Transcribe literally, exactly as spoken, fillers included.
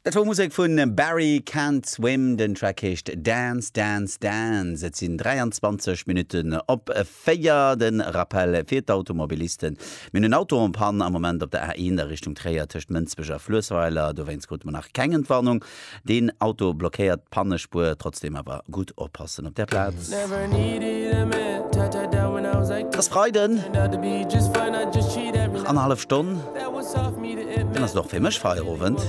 Dat wor Musek vun Barry Can't Swim, den Track heescht Dance, Dance, Dance. Et sinn dräianzwanzeg Minutten op véier. De Rappel fir d'Automobilisten, Mir hunn en Auto en panne am Moment op der A eent a Richtung Tréier tëscht Mënsbech a Fluessweiler. Dowéinst krute mer nach keng Entwarnung. Deen Auto blockéiert d'Pannespuer. Trotzdeem awer gutt oppassen op där Plaz. Et ass Freiden, nach annerhallef Stonn, dann ass et och fir mech Feierowend.